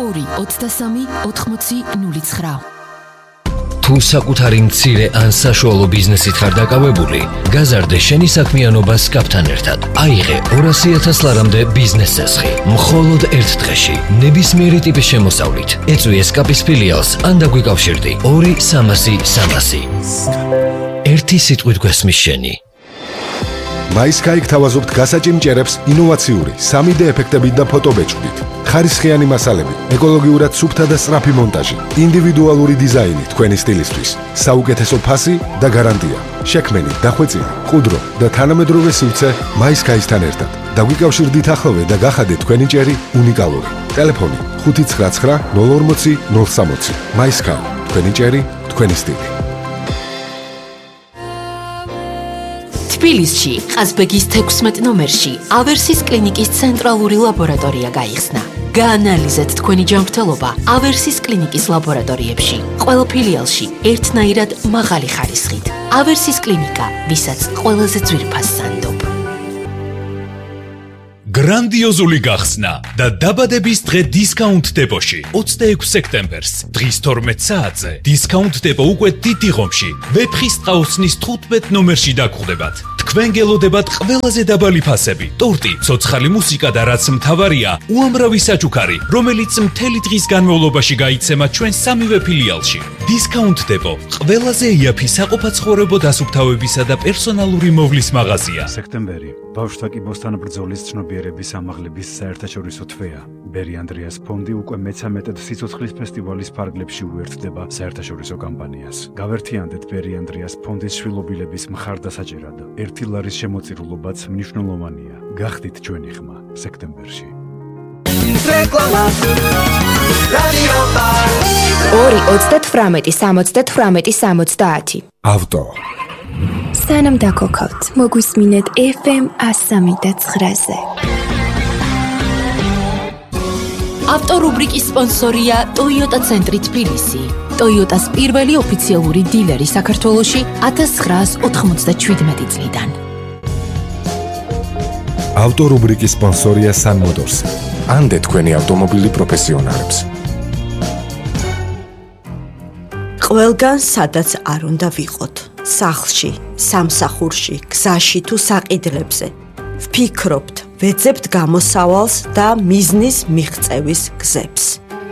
2-23-80-09. თუ საკუთარი მცირე ან საშუალო ბიზნესით ხარ დაკავებული, გაზარდე შენი საქმიანობა SCAP-თან ერთად. აიღე 200,000 ლარამდე ბიზნეს წესხი, მხოლოდ ერთ დღეში, ნებისმიერი ტიპის შემოსავლით. ეწვი SCAP-ის ფილიალს ან დაგვიკავშირდი 2-300-300. ერთი სიტყვით გვესმის შენი. MySky გთავაზობთ გასაჭიმჭერებს ინოვაციური 3D ეფექტებით და ფოტობეჭდით. ხარისხიანი მასალები, ეკოლოგიურად სუფთა და სწრაფი მონტაჟი, ინდივიდუალური დიზაინი თქვენი სტილისთვის, საუკეთესო ფასი და გარანტია. შექმენი, დახვეწილი, ყუდრო და თანამედროვე სივრცე MySky-სთან ერთად. დაგვიკავშირდით ახლოვე და გახადეთ თქვენი ჭერი უნიკალური. ტელეფონი 599 040 060. MySky, თქვენი ჭერი, თქვენი სტილი. თბილისში, ყაზბეგის 16 ნომერში, ავერსის კლინიკის ცენტრალური ლაბორატორია გაიხსნა. გაანალიზეთ თქვენი ჯანმრთელობა ავერსის კლინიკის ლაბორატორიებში. ყველა ფილიალში ერთნაირად მაღალი ხარისხით. ავერსის კლინიკა, ვისაც ყველაზე ძვირფას სანდობ. გრანდიოზული გახსნა და დაბადების დღე დისკაუნტ დებოში 26 სექტემბერს დღის 12 საათზე დისკაუნტ დებო უკვე დიდი ღომში ვეფხის ტყაოსნის 15 ნომერში დაგხვდებათ. თქვენ გელოდებათ ყველაზე დაბალი ფასები, ტორტი, ცოცხალი მუსიკა და რაც მთავარია, უამრავი საჩუქარი, რომელიც მთელი დღის განმავლობაში გაიცემა ჩვენ სამივე ფილიალში. დისკაუნტ დებო ყველაზე იაფი საყოფაცხოვრებო დასუფთავებისა და პერსონალური მოვლის მაღაზია. სექტემბერი ბავშვთა კიბოსთან ბრძოლის ცნობიერების ამაღლების საერთაშორისო თვეა. ბერი ანდრიას ფონდი უკვე მე-13 სიცოცხლის ფესტივალის ფარგლებში უერთდება საერთაშორისო კამპანიას. გავერთიანდეთ ბერი ანდრიას ფონდის შვილობილების მხარდასაჭერად. 1 ლარის შემოწირულობაც მნიშვნელოვანია. გახდით ჩვენი ხმა სექტემბერში. რეკლამა რადიო 2-38-70-70. ავტო. სანამ დაგოქავთ, მოგვისმინეთ FM 103.9-ზე. ავტორუბრიკის სპონსორია Toyota ცენტრი თბილისი. Toyota-s პირველი ოფიციალური დილერი საქართველოში 1997 წლიდან. ავტორუბრიკის სპონსორია Sun Motors. ანდე თქვენი ავტომობილი პროფესიონალებს. ყველგან სადაც არ უნდა ვიყოთ. სახლში, სამსახურში, გზაში თუ საყიდლებზე. ვფიქრობთ, ვეძებთ გამოსავალს და მიზნის მიღწევის გზებს.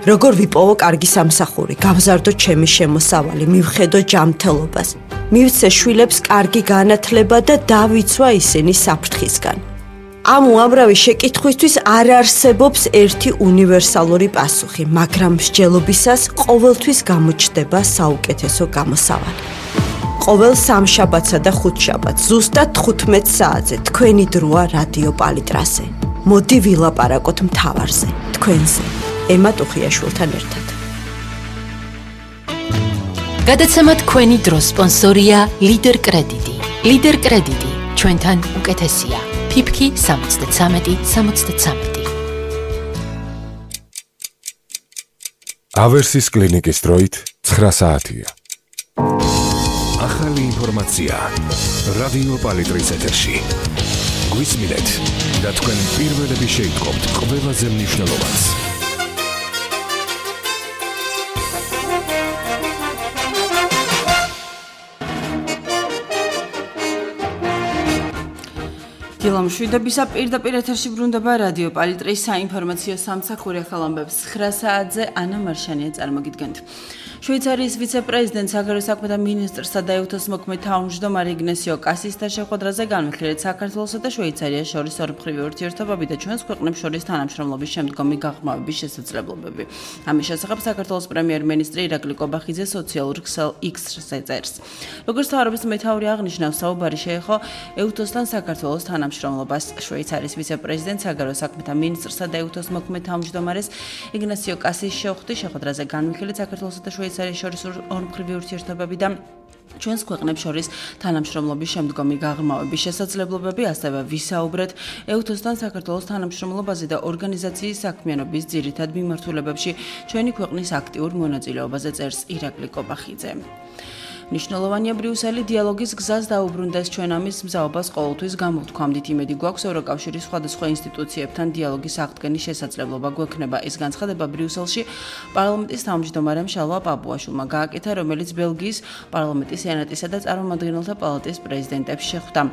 როგორ ვიპოვო კარგი სამსახური, გავზარდო ჩემი შემოსავალი, მივხედო ჯანმრთელობას, მივცე შვილებს კარგი განათლება და დავიცვა ისინი საფრთხისგან. ამ უამრავი შეკითხვისთვის არ არსებობს ერთი უნივერსალური პასუხი, მაგრამ მსჯელობისას ყოველთვის გამოჩნდება საუკეთესო გამოსავალი. ყოველ სამშაბათსა და ხუთშაბათს ზუსტად 15 საათზე თქვენი დროა რადიო პალიტრაზე. მოდი ვილაპარაკოთ მთავარზე, თქვენზე, ემა ტუხიაშვილთან ერთად. გადაცემა თქვენი დრო სპონსორია ლიდერ კრედიტი. ლიდერ კრედიტი, ჩვენთან უკეთესია. ფიფქი 73-73. ავერსის კლინიკის დროით 9 საათია. ახალი ინფორმაცია რადიო პალიტრის ეთერში. გვისმინეთ და თქვენ პირველები შეიტყობთ ყველაზე მნიშვნელოვანს. დილამშვიდობისა პირდაპირ ეთერში ბრუნდება რადიო პალიტრის საინფორმაციო სამსახური ახალ ამბებს 9 საათზე ანა მარშანია წარმოგიდგენთ. შვეიცარიის ვიცე-პრეზიდენტ საგარეო საქმეთა მინისტრსა და ეუთოს მოქმედ თავმჯდომარე იგნასიო კასისთან შეხვედრაზე განვიხილეთ საქართველოსა და შვეიცარიას შორის ორმხრივი ურთიერთობები და ჩვენს ქვეყნებს შორის თანამშრომლობის შემდგომი გაღრმავების შესაძლებლობები. ამის შესახებ საქართველოს პრემიერ-მინისტრი ირაკლი კობახიძე სოციალურ ქსელ X-ზე წერს. როგორც თავრობის მეთაური აღნიშნავს, საუბარი შეეხო ეუთოსთან საქართველოს თანამშრომლობას. შვეიცარიის ვიცე-პრეზიდენტ საგარეო საქმეთა მინისტრსა და ეუთოს მოქმედ თავმჯდომარეს იგნასიო კასის შეხვედრაზე განვიხილეთ საქართველოსა და შვეიცარიის შორის ორმხრივი ურთიერთობები და ჩვენს ქვეყნებს შორის თანამშრომლობის შემდგომი გაღრმავების შესაძლებლობები, ასევე ვისაუბრეთ ეუთოსთან საქართველოს თანამშრომლობაზე და ორგანიზაციის საქმიანობის ძირითად მიმართულებებში ჩვენი ქვეყნის აქტიურ მონაწილეობაზე წერს ირაკლი კობახიძე. მნიშვნელოვანია ბრიუსელი დიალოგის გზას დაუბრუნდეს ჩვენ ამის მზაობას ყოველთვის გამოვთქვამდით იმედი გვაქვს ევროკავშირის სხვადასხვა ინსტიტუციებთან დიალოგის აღდგენის შესაძლებლობა გვექნება ეს განცხადება ბრიუსელში პარლამენტის თავმჯდომარემ შალვა პაპუაშვილმა გააკეთა რომელიც ბელგიის პარლამენტის სენატისა და წარმომადგენელთა პალატის პრეზიდენტებს შეხვდა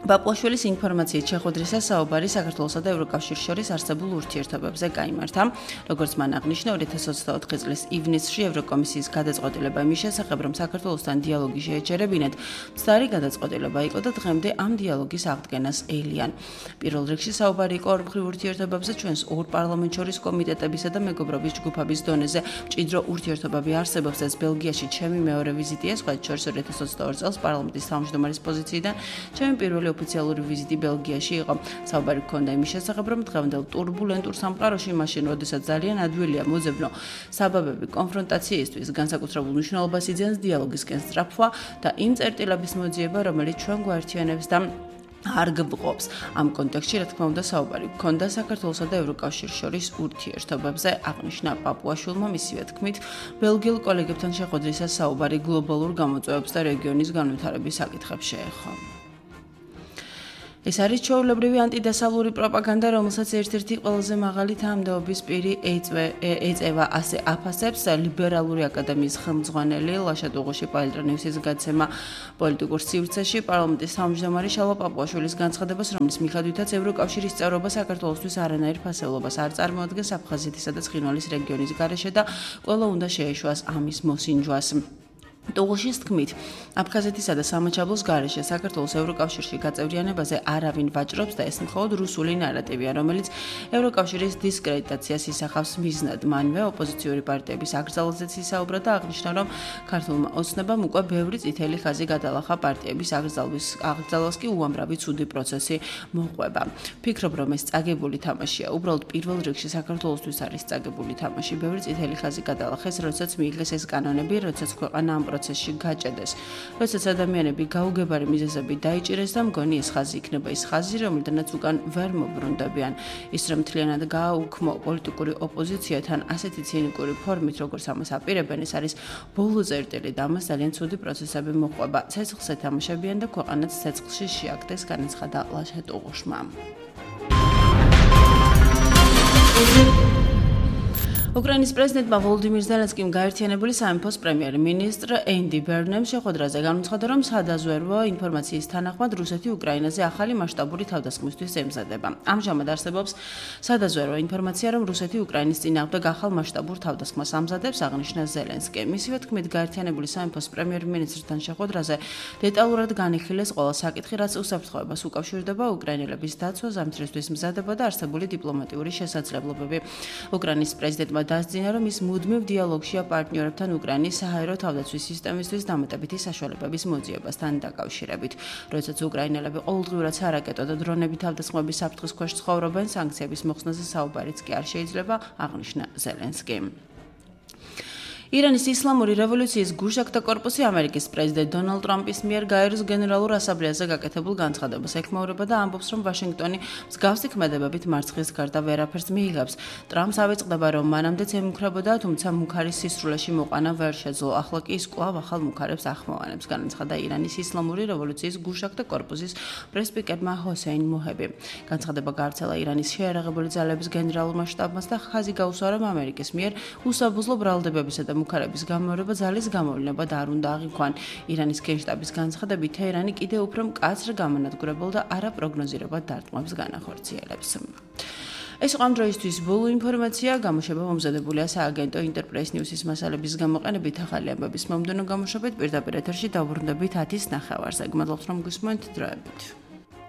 პაპუაშვილის ინფორმაციით შეხვედრისას საუბარი საქართველოსა და ევროკავშირის შორის არსებულ ურთიერთობებზე გაიმართა. როგორც მან აღნიშნა, 2024 წლის ივნისში ევროკომისიის გადაწყვეტილება იმის შესახებ, რომ საქართველოსთან დიალოგი შეეჩერებინათ, მცდარი გადაწყვეტილება იყო და დღემდე ამ დიალოგის აღდგენას ელიან. პირველ რიგში საუბარი იყო ორმხრივ ურთიერთობებზე ჩვენს ორ პარლამენტ შორის კომიტეტებისა და მეგობრობის ჯგუფების დონეზე. მჭიდრო ურთიერთობები არსებობს ეს ბელგიაში ჩემი მეორე ვიზიტია, სხვათა შორის 2022 წელს პარლამენტის თავმჯდომარის პოზიციიდან ჩემი პირველი ოფიციალური ვიზიტი ბელგიაში იყო. საუბარი ჰქონდა იმის შესახებ, რომ დღევანდელ турბულენტურ სამყაროში, მაშინ, როდესაც ძალიან ადვილია მოძებნო საბაბები კონფრონტაციისთვის, განსაკუთრებულ მნიშვნელობას იძენს დიალოგისკენ სწრაფვა და იმ წერტილების მოძიება, რომელიც ჩვენ გვაერთიანებს და არ გვყობს. ამ კონტექსტში, რა თქმა უნდა, საუბარი ჰქონდა საქართველოსა და ევროკავშირის შორის ურთიერთობებზე, აღნიშნა პაპუაშვილმა მისივე თქმით, ბელგიელ კოლეგებთან შეხვედრისას საუბარი გლობალურ გამოწვევებს და რეგიონის განვითარების საკითხებს შეეხო. ეს არის ჩვეულებრივი ანტიდასავლური პროპაგანდა, რომელსაც ერთ-ერთი ყველაზე მაღალი თანამდებობის პირი ეწევა, ასე აფასებს ლიბერალური აკადემიის ხელმძღვანელი ლაშა დუღუში პალიტრონიუსის გაცემა პოლიტიკურ სივრცეში პარლამენტის თავმჯდომარე შალვა პაპუაშვილის განცხადებას, რომლის მიხედვითაც ევროკავშირის წევრობა საქართველოსთვის არანაირ ფასეულობას არ წარმოადგენს აფხაზეთისა და ცხინვალის რეგიონის გარეშე და ყველა უნდა შეეშვას ამის მოსინჯვას. დუღუშის თქმით, აფხაზეთისა და სამაჩაბლოს გარეშე საქართველოს ევროკავშირში გაწევრიანებაზე არავინ ვაჭრობს და ეს მხოლოდ რუსული ნარატივია, რომელიც ევროკავშირის დისკრედიტაციას ისახავს მიზნად. მანვე ოპოზიციური პარტიების აკრძალვაზეც ისაუბრა და აღნიშნა, რომ ქართულმა ოცნებამ უკვე ბევრი წითელი ხაზი გადალახა პარტიების აკრძალვას კი უამრავი ცუდი პროცესი მოყვება. ფიქრობ, რომ ეს წაგებული თამაშია. უბრალოდ პირველ რიგში საქართველოსთვის არის წაგებული თამაში. ბევრი წითელი ხაზი გადალახეს, როდესაც მიიღეს ეს კანონები, როდესაც ქვეყანა პროცესში გაჭედეს. როდესაც ადამიანები გაუგებარი მიზეზები დაიჭირეს და მგონი ეს ხაზი იქნება ის ხაზი, რომელთანაც უკან ვერ მობრუნდებიან. ის რომ მთლიანად გააუქმო პოლიტიკური ოპოზიციათან ასეთი ცინიკური ფორმით, როგორც ამას აპირებენ, ეს არის ბოლო წერტილი და ამას ძალიან ცუდი პროცესები მოყვება. ცეცხლს ეთამაშებიან და ქვეყანაც ცეცხლში შეაგდეს, განაცხადა ლაშა დუღუშმა. უკრაინის პრეზიდენტმა ვოლოდიმირ ზელენსკიმ გაერთიანებული სამეფოს პრემიერ-მინისტრ ენდი ბერნემ შეხვედრაზე განუცხადა, რომ სადაზვერვო ინფორმაციის თანახმად რუსეთი უკრაინაზე ახალი მასშტაბური თავდასხმისთვის ემზადება. ამჟამად არსებობს სადაზვერვო ინფორმაცია, რომ რუსეთი უკრაინის წინააღმდეგ ახალ მასშტაბურ თავდასხმას ამზადებს, აღნიშნა ზელენსკი. მისივე თქმით, გაერთიანებული სამეფოს პრემიერ-მინისტრთან შეხვედრაზე დეტალურად განიხილეს ყველა საკითხი, რაც უსაფრთხოებას უკავშირდება უკრაინელების დაცვა, ზამთრისთვის მზადება და არსებული დიპლომატიური შესაძლებლობები. უკრაინის პრეზიდენტმა დასძინა, რომ ის მუდმივ დიალოგშია პარტნიორებთან უკრაინის საჰაერო თავდაცვის სისტემისთვის დამატებითი საშუალებების მოძიებასთან დაკავშირებით. როდესაც უკრაინელები ყოველდღიურად სარაკეტო და დრონები თავდასხმების საფრთხის ქვეშ ცხოვრობენ, სანქციების მოხსნაზე საუბარიც კი არ შეიძლება, აღნიშნა ზელენსკი. ირანის ისლამური რევოლუციის გუშაგთა კორპუსი ამერიკის პრეზიდენტ დონალდ ტრამპის მიერ გაეროს გენერალურ ასამბლეაზე გაკეთებულ განცხადებას ეხმაურება და ამბობს, რომ ვაშინგტონი მსგავსი ქმედებებით მარცხის გარდა ვერაფერს მიიღებს. ტრამპს ავიწყდება, რომ მანამდეც ემუქრებოდა, თუმცა მუქარის სისრულეში მოყვანა ვერ შეძლო. ახლა კი ის კვლავ ახალ მუქარებს ახმოვანებს, განაცხადა ირანის ისლამური რევოლუციის გუშაგთა კორპუსის პრესპიკერმა ჰოსეინ მოჰები. განცხადება გავრცელა ირანის შეიარაღებული ძალების გენერალურმა შტაბმა და ხაზი გაუსვა, რომ ამერიკის მიერ უსაბუზლო ბრალდებებისა და მუქარების გამორება ძალის გამოვლინება და არ უნდა აღიქვან. ირანის გენშტაბის განცხადებით, თეირანი კიდევ უფრო მკაცრ გამანადგურებელ და არაპროგნოზირებად დარტყმებს განახორციელებს. ეს ამ დროისთვის ბოლო ინფორმაცია, გამოშვება მომზადებულია სააგენტო ინტერპრეს ნიუსის მასალების გამოყენებით ახალი ამბების მომდევნო გამოშვებით პირდაპირ ეთერში დავბრუნდებით 10:09-ზე. გმადლობთ, რომ გისმენთ დროებით.